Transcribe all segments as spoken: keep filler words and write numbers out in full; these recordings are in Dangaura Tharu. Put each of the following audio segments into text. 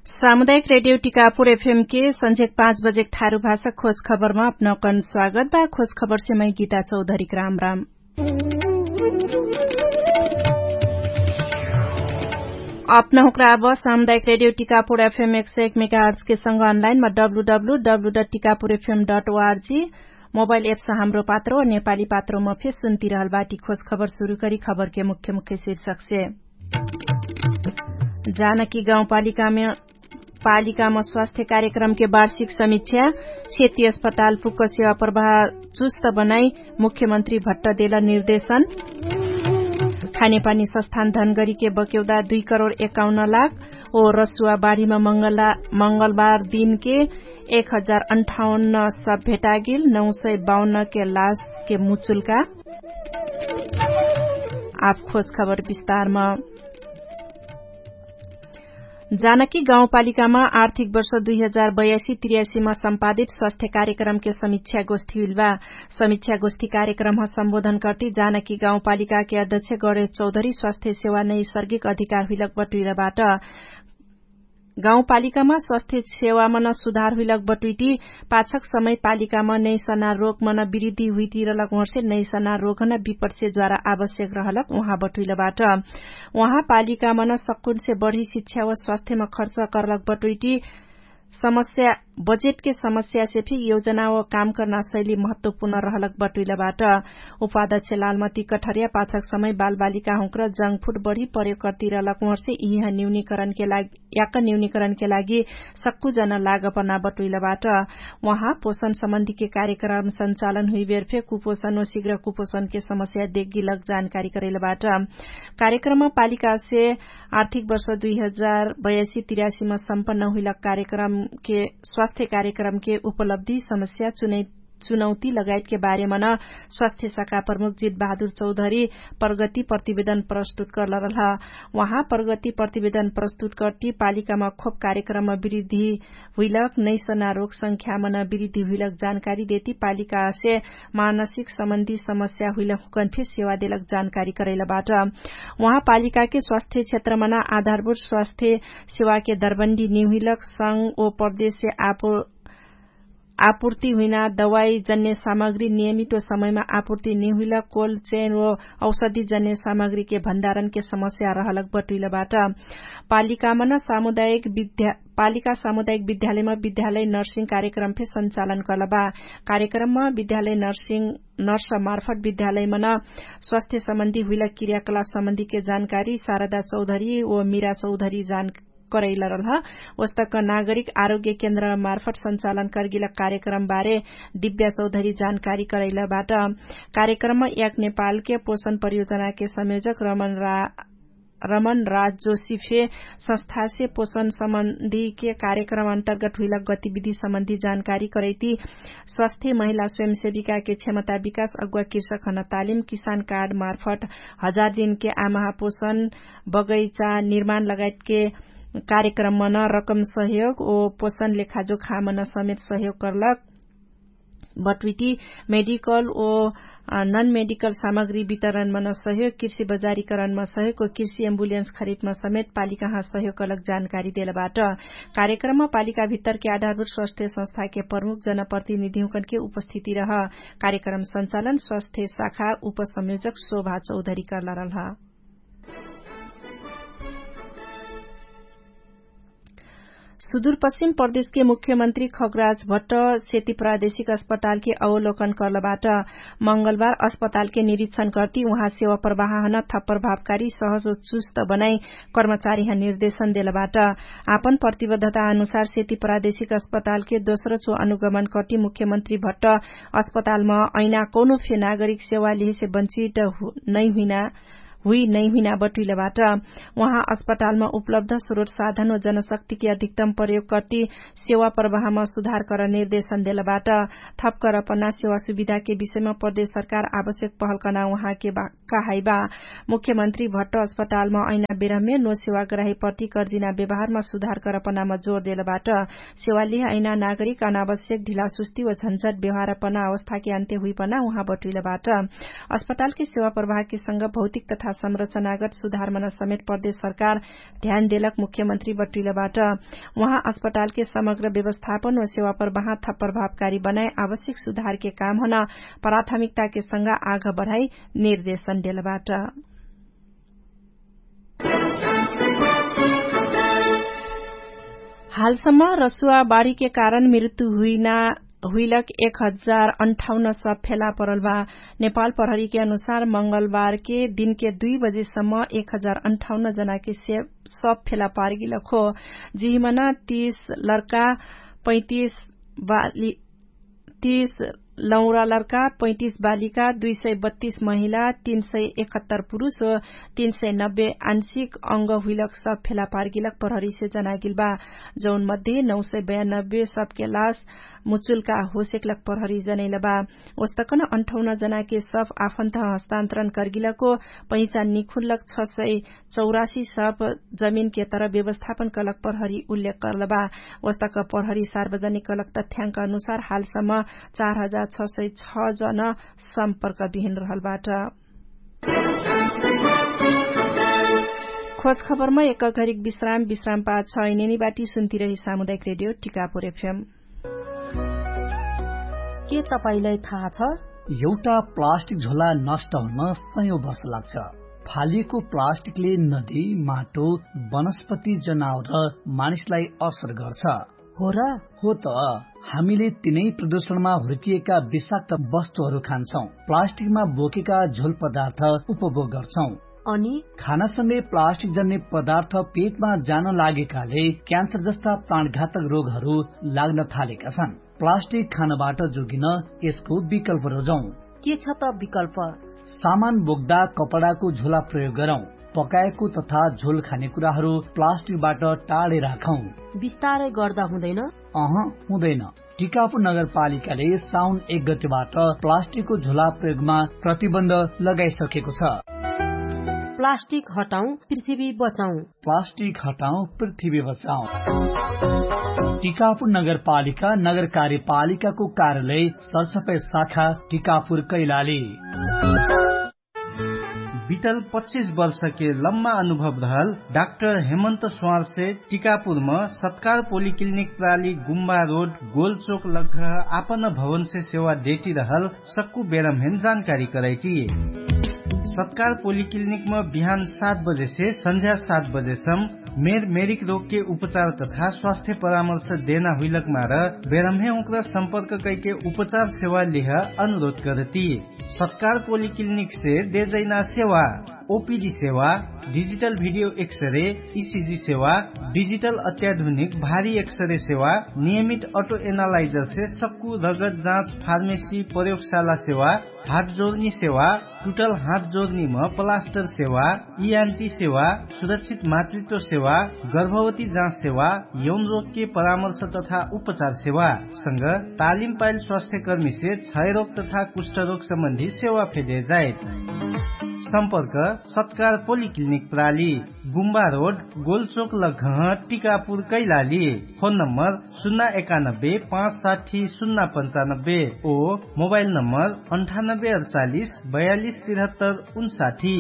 सामुदायिक रेडियो टिकापुर एफएम के संझेक पाँच बजेक थारु भाषा खोज खबरमा अपनौकन स्वागत बा। खोज खबरसे मै गीता चौधरीक राम राम। अपनहुँक्रा अब सामुदायिक रेडियो टिकापुर एफएम एक सय एक मेगाहर्जके संग अनलाइनमा W W W dot Tikapur FM dot ORG mobile apps Hamro Patro नेपाली पात्रोमा फेर सुन्तिरहल बाटी। खोज खबर सुरु करी खबरके मुख्य मुख्य शीर्षकसे। जानकी गाउँपालिकामा पालिकामा स्वास्थ्य कार्यक्रमके वार्षिक समीक्षा। सेती अस्पताल पुक्क सेवा प्रवाह चुस्त बनाई मुख्यमन्त्री भट्ट देल निर्देशन। खानेपानी सस्थान धनगरीके बक्यौदा दुई करोड एकाउन्न लाख। ओ रसुवा बाढीमा मङ्गलबार दिनके एक हजार अन्ठाउन्न सब भेटागिल नौ सय बाउन्नके लासके मुचुल्का। आफ खोज खबर विस्तारमा। जानकी गाउँपालिकामा आर्थिक वर्ष दुई हजार बयासी त्रियासीमा सम्पादित स्वास्थ्य कार्यक्रमके समीक्षा गोष्ठी हुइलबा। समीक्षा गोष्ठी कार्यक्रमह सम्बोधन कर्ती जानकी गाउँपालिकाके अध्यक्ष गणेश चौधरी स्वास्थ्य सेवा नैसर्गिक अधिकार हुइलक बटुइलबाट। गाउँपालिकामा स्वास्थ्य सेवामन सुधार हुइलक बटुइटी पाछक समय पालिकामा नैसना रोगमन बिरिद्धि हुइतिरलक ओहर्से नैसना रोगहन विपटसे ज्वारा आवश्यक रहलक उहाँ बटुइलबाट। उहाँ पालिकामन सक्कुनसे बढी शिक्षा व स्वास्थ्यमा खर्च करलक बटुइटी समस्या बजेटके समस्यासे फि योजना व काम कर्ना शैली महत्वपूर्ण रहलक बटुइलबाट। उपाध्यक्ष लालमती कठरिया पाछक समय बालबालिकाहुँक्र जङ्गफुट बढी प्रयोग कर्तिरलक ओहर्से इहिह न्यूनीकरणके लागि याक न्यूनीकरणके लागि सक्कु जन लागपना बटुइलबाट। उहाँ पोषण सम्बन्धीके कार्यक्रम सञ्चालन हुइबेर फे कुपोषण व शिग्र कुपोषणके समस्या देग्गिलक जानकारी करैलबाट। कार्यक्रममा पालिकासे आर्थिक वर्ष दुई हजार बयासी तिरासीमा सम्पन्न हुइलक कार्यक्रमके स्वास्थ्य कार्यक्रमके उपलब्धि समस्या चुनैत चुनौती लगायतके बारेमन स्वास्थ्य शाखा प्रमुख जित बहादुर चौधरी प्रगति प्रतिवेदन प्रस्तुत कर्लरलह। उहाँ प्रगति प्रतिवेदन प्रस्तुत कर्ति पालिकामा खोप कार्यक्रममा बिरिद्धि हुइलक नैसना रोग संख्यामन बिरिद्धि हुइलक जानकारी देति पालिकासे मानसिक सम्बन्धी समस्या हुइलक हुकन फे सेवा देलक जानकारी करैलबाट। उहाँ पालिकाके स्वास्थ्य क्षेत्रमन आधारभूत स्वास्थ्य सेवाके दरबन्दी निहुइलक संग ओ प्रदेशसे आपो आपुर्ति हुइना दवाई जन्य सामग्री नियमित ओ समयमा आपुर्ति निहुइलक कोल्ड चेन ओ औषधि जन्य सामग्रीके भण्डारणके समस्या रहलक बटुइलबाट। पालिकामन सामुदायिक विद्या पालिका सामुदायिक विद्यालयमा विद्यालय नर्सिङ कार्यक्रम फे सञ्चालन कर्लबा। कार्यक्रममा विद्यालय नर्सिङ नर्स मार्फत विद्यालयमन स्वास्थ्य सम्बन्धी हुइलक क्रियाकलाप सम्बन्धीके जानकारी शारदा चौधरी ओ मिरा चौधरी जान करैलरलह। ओस्तक नागरिक आरोग्य केन्द्र मार्फत सञ्चालन कर्गिलक कार्यक्रमबारे दिव्या चौधरी जानकारी करैलबाट। कार्यक्रममा याक नेपालके पोषण परियोजनाके संयोजक रमन राज जोशी फे संस्थासे पोषण सम्बन्धीके कार्यक्रम अन्तर्गत हुइलक गतिविधि सम्बन्धी जानकारी करैती स्वास्थ्य महिला स्वयंसेविकाके क्षमता विकास अगुवा कृषकहन तालिम किसान कार्ड मार्फत हजार दिनके आमाहा पोषण बगैचा निर्माण लगायतके कार्यक्रममन रकम सहयोग ओ पोषण लेखाजोखामन समेत सहयोग कर्लक बटुइटी मेडिकल ओ नन मेडिकल सामग्री वितरणमन सहयोग कृषि बजारीकरणमा सहयोग ओ कृषि एम्बुलेन्स खरिदमा समेत पालिकाहाँ सहयोग कर्लक जानकारी देलबाट। कार्यक्रममा पालिका भित्तरके आधारभूत स्वास्थ्य संस्थाके प्रमुख जनप्रतिनिधिहुँकनके उपस्थिति रह। कार्यक्रम सञ्चालन स्वास्थ्य शाखा उपसंयोजक शोभा चौधरी कर्लरलह। सुदूरपश्चिम प्रदेशके मुख्यमन्त्री खगराज भट्ट सेती प्रादेशिक अस्पतालके अवलोकन कर्लबाट। मंगलबार अस्पतालके निरीक्षण कर्ति उहाँ सेवा प्रवाहन थप प्रभावकारी सहज ओ चुस्त बनाई कर्मचारीह निर्देशन देलबाट। आपन प्रतिबद्धता अनुसार सेती प्रादेशिक अस्पतालके दोस्रो चो अनुगमन कर्ति मुख्यमन्त्री भट्ट अस्पतालमा ऐना कौनो फे नागरिक सेवा लिहेसे बन्चित नैहुइना हुइ नैहुइना बटुइलबाट। उहाँ अस्पतालमा उपलब्ध स्रोत साधन ओ जनशक्तिके अधिकतम प्रयोग कर्ति सेवा प्रवाहमा सुधार कर निर्देशन देलबाट। थप करपना सेवा सुविधाके विषयमा प्रदेश सरकार आवश्यक पहलकना उहाँके कहाइबा। मुख्यमन्त्री भट्ट अस्पतालमा ऐना बेरहमे नो सेवा ग्राही प्रति कर्दिना व्यवहारमा सुधार करपनामा जोर देलबाट। सेवालिह ऐना नागरिक अनावश्यक ढिलासुस्ती व झन्झट व्यवहारपना अवस्थाके अन्त्य हुइपना उहाँ बटुइलबाट। अस्पतालके सेवा प्रवाहके संग भौतिक तथा संरचनागत सुधारमन समेत प्रदेश सरकार ध्यान देलक मुख्यमन्त्री बटुइलबाट। उहाँ अस्पतालके समग्र व्यवस्थापन व सेवापर बहाँ थप प्रभावकारी बनाए आवश्यक सुधारके कामहन प्राथमिकताके संगा आघ बढाइ निर्देशन देलबाट। हालसम्म रसुवा बाढीके कारण मृत्यु हुइना हुइलक एक हजार अन्ठाउन्न सब फेला परल बा। नेपाल प्रहरीके अनुसार मंगलबारके दिनके दुई बजेसम्म एक हजार अन्ठाउन्न जनाके सब फेला पारगिलक हो। जिहिमन तीस लर्का, पैतिस बाली तीस लौरा लर्का, पैतिस बालिका, दुई सय बत्तिस महिला, तीन सय एकहत्तर पुरुष, तीन सय नब्बे आंशिक अंग हुइलक सब फेला पारगिलक प्रहरीसे जनागिल बा। जौन मध्ये नौ सय बयानब्बे सबके लास मुचुल्का होसेकलक प्रहरी जनैल बा। ओस्तकन अन्ठाउन्न जनाके सब आफन्त हस्तान्तरण कर्गिलको पहिचान निखुनलक छ सय चौरासी सब जमिनके तर व्यवस्थापन कलक प्रहरी उल्लेख कर्ल बा। ओस्तक प्रहरी सार्वजनिक कलक तथ्याङ्क अनुसार हालसम्म चार हजार छ सय छ जन सम्पर्क बिहिन रहल बाट। खोज खबरमा एक घरिक विश्राम विश्राम पाछ ऐनेनी बाटी सुन्ती रही सामुदायिक रेडियो टिकापुर एफएम। के तपाईंलाई थाहा छ? एउटा प्लास्टिक झोला नष्ट हुन सयौं वर्ष लाग्छ। फालिएको प्लास्टिकले नदी, माटो, वनस्पति, जनावर र मानिसलाई असर गर्छ। हो र? हो त। हामीले तिनै प्रदूषणमा हुर्किएका विषाक्त वस्तुहरू खान्छौं, प्लास्टिकमा बोकेका झोल पदार्थ उपभोग गर्छौं। अनि खानासँगै प्लास्टिक जन्ने पदार्थ पेटमा जान लागेकाले क्यान्सर जस्ता प्राणघातक रोगहरू लाग्न थालेका छन्। प्लास्टिक खानबाट जोगिन यसको विकल्प रोजौं। के छ त विकल्प? सामान बोक्दा कपडाको झोला प्रयोग गरौं। पकाएको तथा झोल खाने कुराहरू प्लास्टिकबाट टाढे राखौं। बिस्तारै गर्दा हुँदैन? अह, हुँदैन। टिकापुर नगरपालिकाले साउन एक गतेबाट प्लास्टिकको झोला प्रयोगमा प्रतिबन्ध लगाइसकेको छ। प्लास्टिक हटाउँ, पृथ्वी बचाउँ। प्लास्टिक हटाउँ, पृथ्वी बचाउँ। टिकापुर नगरपालिका नगर कार्यपालिकाको कार्यालय सरसफाई शाखा टिकापुर कैलाली। बितल पच्चिस वर्षके लम्मा अनुभव रहल डाक्टर हेमन्त स्वारसे टिकापुरम सत्कार पोलिक्लिनिक प्राली गुम्बा रोड गोलचोक लग्घ आपन भवनसे सेवा देटी रहल सक्कु बेरमहेन जानकारी करैटी। सत्कार पोलिक्लिनिकम बिहान सात बजेसे संझ्या सात बजेसम मेर मेरिक रोगके उपचार तथा स्वास्थ्य परामर्श देना हुइलक मार बेरमहे उक्र सम्पर्क कैके उपचार सेवा लिह अनुरोध करती। सत्कार पोलिक्लिनिकसे देजैना सेवा ओपिडी सेवा, डिजिटल भिडियो एक्सरे, इसिजी सेवा, डिजिटल अत्याधुनिक भारी एक्सरे सेवा, नियमित अटो एनालाइजरसे सक्कु रगत जाँच, फार्मेसी, प्रयोगशाला सेवा, हात जोर्नी सेवा, टुटल हात जोर्नीम प्लास्टर सेवा, इआन्टी सेवा, सुरक्षित मातृत्व सेवा, गर्भवती जाँच सेवा, यौन रोगके परामर्श तथा उपचार सेवा संग तालिम पाइल स्वास्थ्यकर्मीसे क्षयरोग तथा कुष्ठरोग सम्बन्धी सेवा फेदे जाइत। सम्पर्क सत्कार पोलिक्लिनिक प्राली, गुम्बा रोड, गोलचोक लग्घह, टिकापुर कैलाली। फोन नम्बर सुन्ना एकानब्बे पाँच साठी सुन्ना पन्चानब्बे ओ मोबाइल नम्बर अन्ठानब्बे अडचालिस बयालिस तिरहत्तर उन्साठी।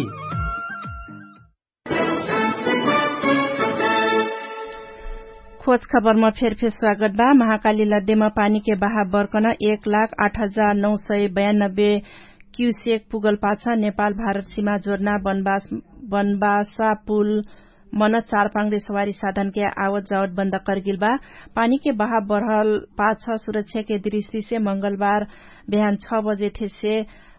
खोज खबरमा फेरफेर स्वागत बा। महाकाली लद्देमा पानीके बहाव बर्कन एक लाख आठ हजार नौ सय बयानब्बे क्युसेक पुगल पाछ नेपाल भारत सिमा जोर्ना बनबासा पुल मन चारपाङ्ग्रे सवारी साधनके आवत जावत बन्द कर्गिल बा। पानीके बहाव बढल पाछ सुरक्षाके दृष्टिसे मंगलबार बिहान छ बजे ठेसे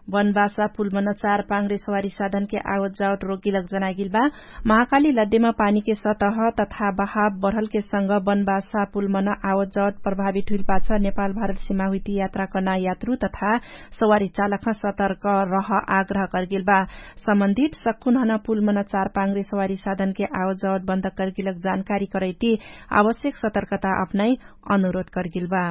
बनबासा पुल मन चारपाङ्ग्रे सवारी साधनके आवत जावत रोकिलक जनागिल बा। महाकाली लद्देमा पानीके सतह तथा बहाव बढलके संग बनबासा पुल मन आवत जावत प्रभावित हुइल पाछ नेपाल भारत सिमा हुइती यात्रा कर्ना यात्रु तथा सवारी चालकह सतर्क रह आग्रह कर्गिल बा। सम्बन्धित सक्कुनहन पुल मन चारपाङ्ग्रे सवारी साधनके आवत जावत बन्द कर्गिलक जानकारी करैती आवश्यक सतर्कता अपनाइ अनुरोध कर्गिल बा।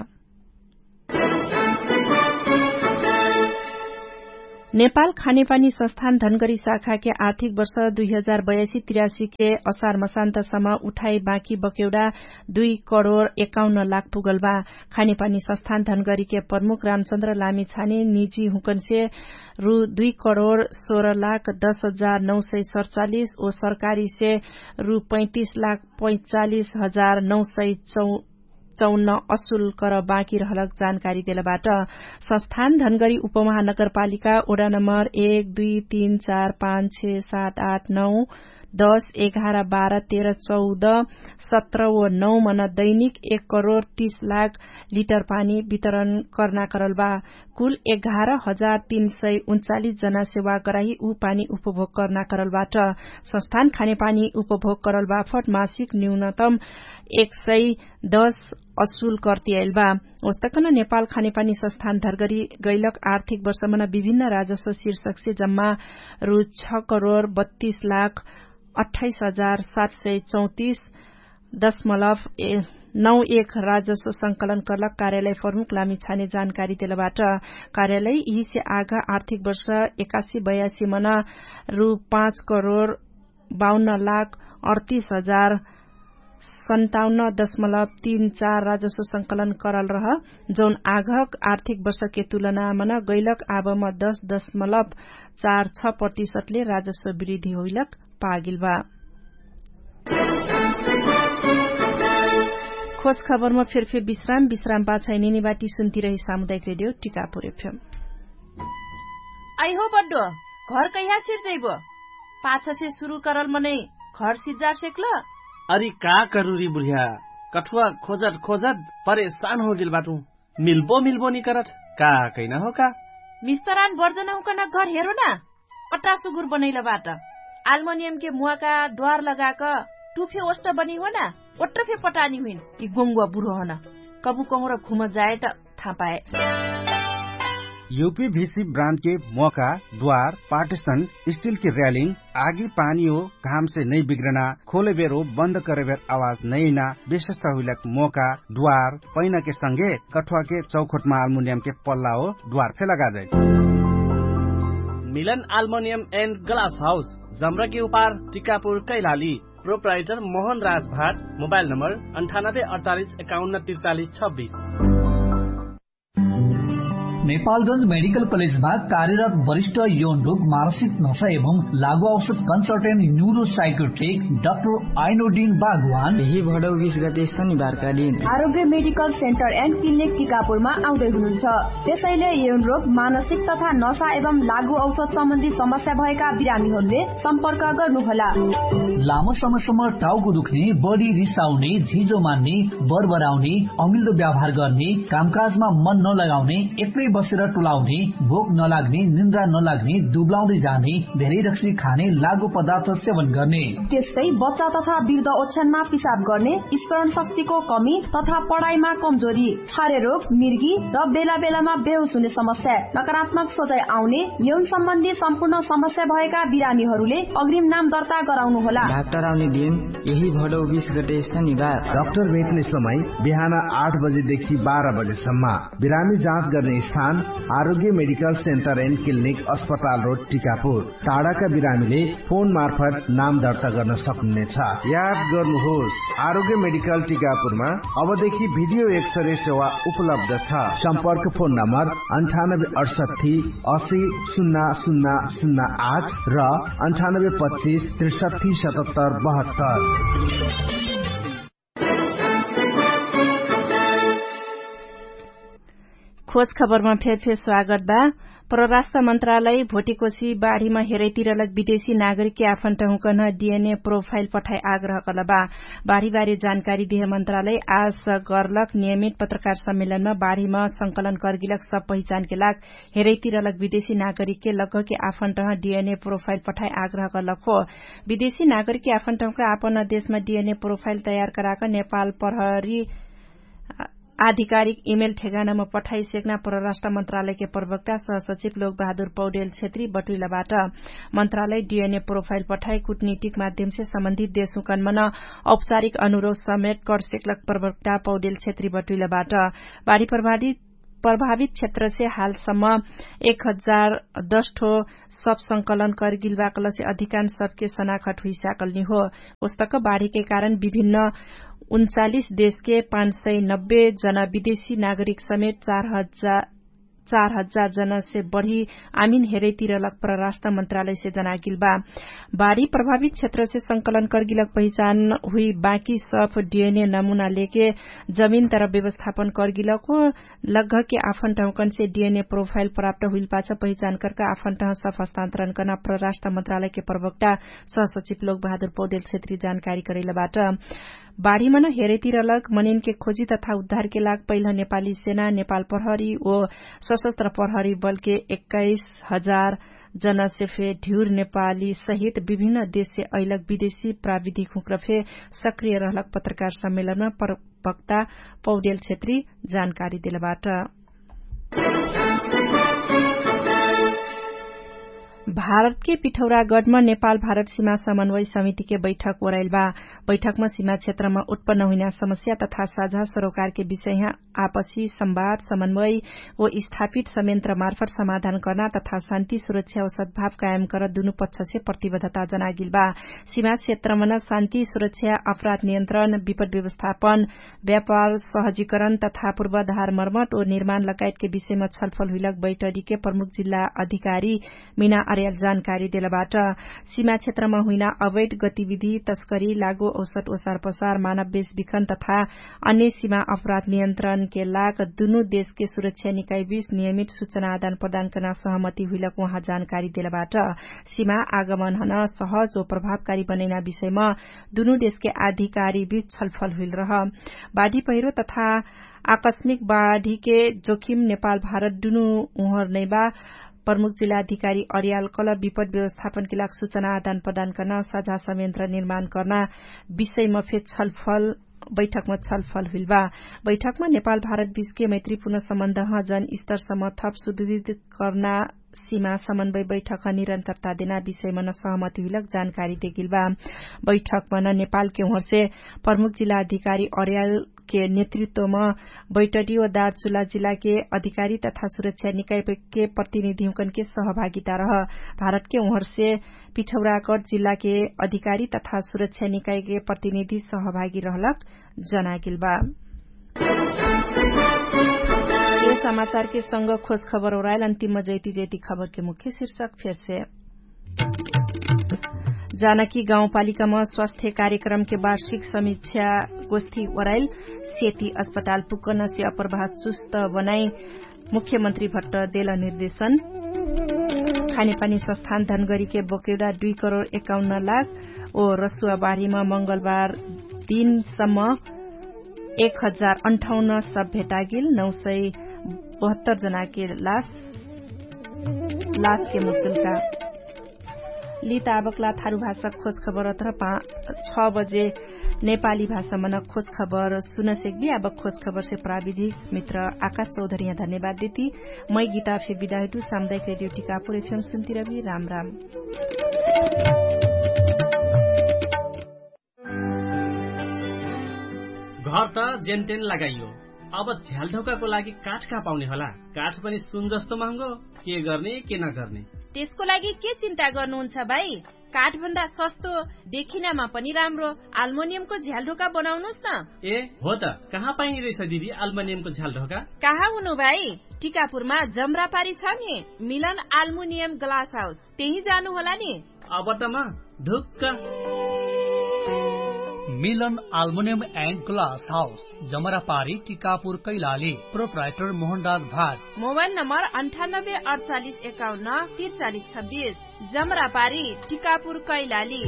नेपाल खानेपानी संस्थान धनगरी शाखाके आर्थिक वर्ष दुई हजार बयासी तिरासीके असार मसान्तसम्म उठाइ बाँकी बकेउडा दुई करोड एकाउन्न लाख पुगल बा। खानेपानी संस्थान धनगरीके प्रमुख रामचन्द्र लामी छाने निजी हुँकनसे रु दुई करोड सोह्र लाख दस हजार नौ सय सडचालिस ओ सरकारीसे रु पैँतिस लाख पैँचालिस हजार नौ सय चौ चौन्न असुल कर बाँकी रहलक जानकारी देलबाट। संस्थान धनगरी उपमहानगरपालिका ओडा नम्बर एक दुई तीन चार पाँच छे सात आठ नौ दस एघार बाह्र तेह्र चौध सत्र व नौ मन दैनिक एक करोड तीस लाख लिटर पानी वितरण कर्ना करल बा। कुल एघार हजार तीन सय उन्चालिस जना सेवा कराही उ पानी उपभोग कर्ना करल बाट। संस्थान खानेपानी उपभोग करल बाफट मासिक न्यूनतम एक सय दस असुल कर्तियाइल बा। ओस्तकन नेपाल खानेपानी संस्थान धरगरी गैलक आर्थिक वर्षमन विभिन्न राजस्व शीर्षकसे जम्मा रु छ करोड बत्तीस लाख अट्ठाइस हजार सात सय चौतिस दशमलव नौ एक राजस्व संकलन कर्लक कार्यालय प्रमुख लामी छाने जानकारी देलबाट। कार्यालय यिहिसे आघ आर्थिक वर्ष एकासी बयासी मन रु पाँच करोड बाउन्न लाख अडतिस हजार सन्ताउन्न दशमलव तीन चार राजस्व संकलन करल रह, जौन आघक आर्थिक वर्षके तुलनामन गैलक आबम दश दशमलव चार छ प्रतिशतले राजस्व वृद्धि होइलक पागिल बा। खोज खबरमा फेरफेर विश्राम विश्राम पाछै नेनिबाटी सुन्तिरही सामुदायिक रेडियो टिकापुर एफएम। आइहो बड्डो, घर कैहा सिर्जैबो? पाछसे सुरु करल मनै घर सिर्जार सेक्ल? अरि का करुरी बुढिया, कठुवा खोजट खोजट परेशान होगेल बाटु। मिल्बो मिल्बो निकरट का कैना हो का? मिस्तरान बर्जनहुँकन घर हेरो ना। अट्टा सुगुर बनैल बाट। आल्मनियमके मुवाका द्वार लगाक टुफे ओष्ट बनी हो ना। ओट्रफे पटानी हुइन कि गोङ्गुवा बुढो हन। कबु कहुँर घुम जायट थापाए। युपी भिसी ब्रान्डके मोका द्वार पार्टिसन स्टिलके र्यालिङ आगी पानी हो घामसे नै बिग्रना खोलेबेर हो बन्द करेबेर आवाज नैना विशेषता हुइलक मोका द्वार पैनाके संगे कठुवाके चौखोटमा आल्मुनियमके पल्ला हो द्वार फे लगाजै। मिलन आल्मोनियम एन्ड ग्लास हाउस जम्रकी उपार टिकापुर कैलाली। प्रोप्राइटर मोहन राजभाट। मोबाइल नम्बर अन्ठानब्बे अडतालिस एकाउन्न तिर्चालिस छब्बिस। नेपालगंज मेडिकल कलेजमा कार्यरत वरिष्ठ यौन रोग मानसिक नशा एवं लागू औषध कन्सल्टेन्ट न्युरोसाइकोट्रिक डाक्टर आइनोडिन बागवान यही भडौ बिस गते शनिबारका दिन आरोग्य मेडिकल सेन्टर एन्ड क्लिनिक टिकापुरमा आउँदै हुनुहुन्छ। त्यसैले यौन रोग मानसिक तथा नशा एवं लागू औषध सम्बन्धी समस्या भएका बिरामीहरूले सम्पर्क गर्नुहोला। लामो समयसम्म टाउको दुख्ने, बढी रिसाउने, झिजो मान्ने, बरबराउने, अमिल्दो व्यवहार गर्ने, कामकाजमा मन नलगाउने, एक्लै बसेर टुलाउने, भोक नलाग्ने, निन्द्रा नलाग्ने, दुब्लाउँदै जाने, धेरै रक्सी खाने, लागु पदार्थ सेवन गर्ने। त्यस्तै बच्चा तथा वृद्ध ओछ्यानमा पिसाब गर्ने, स्मरण शक्तिको कमी तथा पढाइमा कमजोरी, छारे रोग, मिर्गी र बेला बेलामा बेहोस हुने समस्या, नकारात्मक सोचाइ आउने, यौन सम्बन्धी सम्पूर्ण समस्या भएका बिरामीहरूले अग्रिम नाम दर्ता गराउनुहोला। डाक्टर आउने दिन यही भडौ बिस गते शनिबार। डाक्टर भेट्ने समय बिहान आठ बजेदेखि बाह्र बजेसम्म। बिरामी जाँच गर्ने स्थान आरोग्य मेडिकल सेन्टर एन्ड क्लिनिक अस्पताल रोड टिकापुर। टाढाका बिरामीले फोन मार्फत नाम दर्ता गर्न सक्नुहुनेछ। याद गर्नुहोस्, आरोग्य मेडिकल टिकापुरमा अबदेखि भिडियो एक्सरे सेवा उपलब्ध छ। सम्पर्क फोन नम्बर अन्ठानब्बे अडसट्ठी असी सुन्ना सुन्ना सुन्ना आठ र अन्ठानब्बे पच्चिस त्रिसट्ठी सतहत्तर बहत्तर। खोज खबरमा फेरफेर स्वागत बा। परराष्ट्र मन्त्रालय भोटिकोसी बाढीमा हेरैतिरलक विदेशी नागरिकके आफन्टहुँकन डिएनए प्रोफाइल पठाइ आग्रह कलबा। बाढीबारे जानकारी दिहे मन्त्रालय आज गर्लक नियमित पत्रकार सम्मेलनमा बाढीमा संकलन कर्गिलक सब पहिचानके लाग हेरैतिरलक विदेशी नागरिकके लगके आफन्टह डिएनए प्रोफाइल पठाइ आग्रह कलक हो। विदेशी नागरिकके आफन्टहुँका आपन देशमा डिएनए प्रोफाइल तयार कराक नेपाल प्रहरी आधिकारिक इमेल ठेगानामा पठाइ सेक्ना परराष्ट्र मन्त्रालयके प्रवक्ता सहसचिव लोकबहादुर पौडेल क्षेत्री बटुइलबाट। मन्त्रालय डिएनए प्रोफाइल पठाइ कुटनीतिक माध्यमसे सम्बन्धित देशहुँकनमन औपचारिक अनुरोध समेट कर सेक्लक प्रवक्ता पौडेल क्षेत्री बटुइलबाट। बाढी प्रभावित प्रभावित क्षेत्रसे हालसम्म एक हजार दस ठो सब संकलन करगिलबा कलसे अधिकांश सबके सनाखट हुइसाकलनी हो। उस्तक बाढीके कारण विभिन्न उन्चालिस देशके पाँच सय नब्बे जना विदेशी नागरिक समेत चार हजार चार हजार जनसे बढी आमिन हेरैतिरलक परराष्ट्र मन्त्रालयसे जनागिलबा। बाढी प्रभावित क्षेत्रसे संकलन करगिलक पहिचान हुइ बाँकी सफ डिएनए नमुना लेके जमिन तर व्यवस्थापन करगिलक हो। लगघके आफन ठाउँकनसे डिएनए प्रोफाइल प्राप्त हुइलपाछ पहिचान करका आफन ठाउँसफ हस्तान्तरण कर्ना परराष्ट्र मन्त्रालयके प्रवक्ता सहसचिव लोकबहादुर पौडेल क्षेत्री जानकारी करैलबाट। बाढीमन हेरैतिरलक मनिनके खोजी तथा उद्धारके लाग पहिल नेपाली सेना नेपाल प्रहरी ओ सशस्त्र प्रहरी बलके एक्काइस हजार जनसे फे ढ्युर नेपाली सहित विभिन्न देशसे अइलक विदेशी प्राविधिक हुँक्र फे सक्रिय रहलक पत्रकार सम्मेलनमा प्रवक्ता पौडेल क्षेत्री जानकारी देलबाट। भारतके पिठौरागढमा नेपाल भारत सिमा समन्वय समितिके बैठक ओराइलबा। बैठकमा सिमा क्षेत्रमा उत्पन्न हुइना समस्या तथा साझा सरोकारके विषयहा आपसी संवाद समन्वय ओ स्थापित समेन्त्र मार्फत समाधान कर्ना तथा शान्ति सुरक्षा ओ सद्भाव कायम कर दुनु पक्षसे प्रतिबद्धता जनागिलबा। सिमा क्षेत्रमन शान्ति सुरक्षा अपराध नियन्त्रण विपद व्यवस्थापन व्यापार सहजीकरण तथा पूर्वाधार मर्मट ओ निर्माण लगायतके विषयमा छलफल हुइलक बैठरीके प्रमुख जिल्ला अधिकारी मिना अर्याल जानकारी देलबाट। सिमा क्षेत्रमा हुइना अवैध गतिविधि तस्करी लागो औसत ओसार पसार मानव बेस बिखन तथा अन्य सिमा अपराध नियन्त्रणके लाग दुनु देशके सुरक्षा निकाइबिस नियमित सुचना आदान प्रदान कर्ना सहमति हुइलक उहाँ जानकारी देलबाट। सिमा आगमनहन सहज ओ प्रभावकारी बनैना विषयमा दुनु देशके अधिकारी बिच छलफल हुइल रह। बाढी पहिरो तथा आकस्मिक बाढीके जोखिम नेपाल भारत दुनु उहर नैबा। प्रमुख जिल्ला अधिकारी अर्याल कल विपद व्यवस्थापनके लाग सुचना आदान प्रदान कर्ना साझा समेन्त्र निर्माण कर्ना विषयमा फे छलफल बैठकमा छलफल हुइलबा। बैठकमा नेपाल भारत बिचके मैत्रीपूर्ण सम्बन्धह जन स्तरसम्म थप सुदृढ कर्ना सिमा समन्वय बैठकह निरन्तरता देना विषयमन सहमति हुइलक जानकारी देगिलबा। बैठकमन नेपालके उहरसे प्रमुख जिल्ला अधिकारी अर्यालके नेतृत्वम बैठडी ओ दार्चुला जिल्लाके अधिकारी तथा सुरक्षा निकायके प्रतिनिधिहुँकनके सहभागिता रह। भारतके उहरसे पिठौराकट जिल्लाके अधिकारी तथा सुरक्षा निकायके प्रतिनिधि सहभागी रहलक जनागिलबा। समाचारके संग खोज खबर ओराइल अन्तिम जैती जैती खबरके मुख्य शीर्षक फेरसे। जानकी गाउँपालिकामा स्वास्थ्य कार्यक्रमके वार्षिक समीक्षा गोष्ठी ओराइल। सेती अस्पताल पुक्कनसे अप्रभाव चुस्त बनाइ मुख्यमन्त्री भट्ट देल निर्देशन। खानेपानी सस्थान धनगरीके बोकेदा दुई करोड एकाउन्न लाख ओ रसुवा बारीमा मंगलबार दिनसम्म एक हजार अन्ठाउन्न सब भेटागिल नौ सय बहत्तर जनाके लास लासके मुचुल्का। लित आबकला थारु भाषा खोज खबर अथर छ बजे नेपाली भाषामन खोज खबर सुनसेक्बी। आबक खोज खबरसे प्राविधिक मित्र आकाश चौधरिया धन्यवाद देती। मै गीता फे बिदाहिटु सामुदायिक रेडियो टिकापुर एफएम सुन्तिरबी। राम राम। घर त जेनतेन लगाइयो, अब झ्यालढोकाको लागि काठ कहाँ पाउने होला? काठ पनि सुन जस्तो महँगो। के गर्ने के नगर्ने? त्यसको लागि के चिन्ता गर्नुहुन्छ भाइ? काठभन्दा सस्तो, देखिनामा पनि राम्रो आल्मोनियमको झ्यालढोका बनाउनुस् न। ए हो त, कहाँ पाइने रहेछ दिदी आल्मोनियमको झ्यालढोका? कहाँ हुनु भाइ? टिकापुरमा जम्रापारी छ नि, मिलन आल्मुनियम ग्लास हाउस, त्यही जानु होला नि। अब त म ढुक्क। मिलन आल्मुनियम एन्ड ग्लास हाउस, जमरापारी टिकापुर कैलाली। प्रोप्राइटर मोहनराज भाट। मोबाइल नम्बर अन्ठानब्बे अडचालिस एकाउन्न तिरचालिस छब्बिस। जमरापारी टिकापुर कैलाली।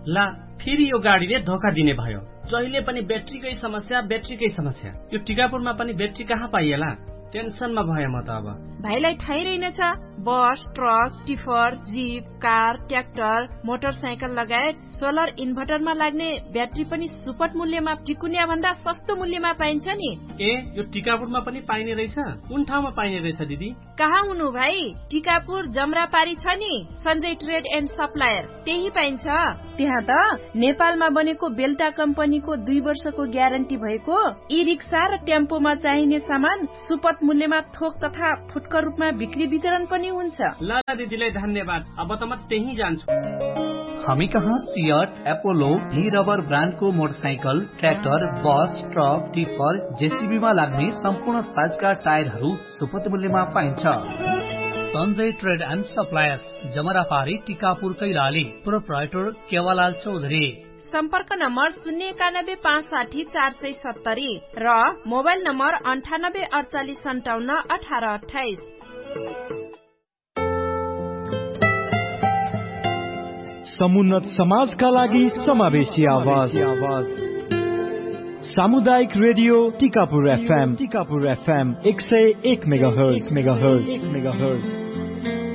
ला, फेरि यो गाडीले धोका दिने भयो। जहिले पनि ब्याट्रीकै समस्या, ब्याट्रीकै समस्या। यो टिकापुरमा पनि ब्याट्री कहाँ पाइएला? टेन्सनमा भए म त अब। भाइलाई थाहै रहिन छ, बस, truck, tipper, zip, car, tractor, motorcycle लगायत सोलर इन्भर्टरमा लाग्ने ब्याट्री पनि सुपट मूल्यमा टिकुन्या भन्दा सस्तो मूल्यमा पाइन्छ नि। ए, यो टिकापुरमा पनि पाइने रहेछ? कुन ठाउँमा पाइने रहेछ दिदी? कहाँ हुनु भाइ? टिकापुर जमरापारी छ नि, सञ्जय ट्रेड एन्ड सप्लायर, त्यही पाइन्छ। त्यहाँ त नेपालमा बनेको बेल्टा कम्पनीको दुई वर्षको ग्यारेन्टी भएको ई रिक्सा र टेम्पोमा चाहिने सामान सुपथ मूल्यमा थोक तथा फुटकर रूपमा बिक्री वितरण पनि हुन्छ। ल दिदीलाई धन्यवाद। अब त म त्यही जान्छु। हमी कहाँ सियट एपोलो हि रबर ब्रान्डको मोटरसाइकल, ट्र्याक्टर, बस, ट्रक, टिफर, जेसिबीमा लाग्ने सम्पूर्ण साइजका टायरहरू सुपथ मूल्यमा पाइन्छ। सञ्जय ट्रेड एन्ड सप्लायर्स, जमरापारी टिकापुर कैलाली। प्रोप्राइटर केवालाल चौधरी। सम्पर्क नम्बर शून्य एकानब्बे पाँच साठी चार सय सत्तरी र मोबाइल नम्बर अन्ठानब्बे अडचालिस सन्ताउन्न अठार अठाइस। समुन्नत समाजका लागि समावेशी आवाज। सामुदायिक रेडियो टिकापुर एफएम। टिकापुर एफएम एक सय एक मेगाहर्ज।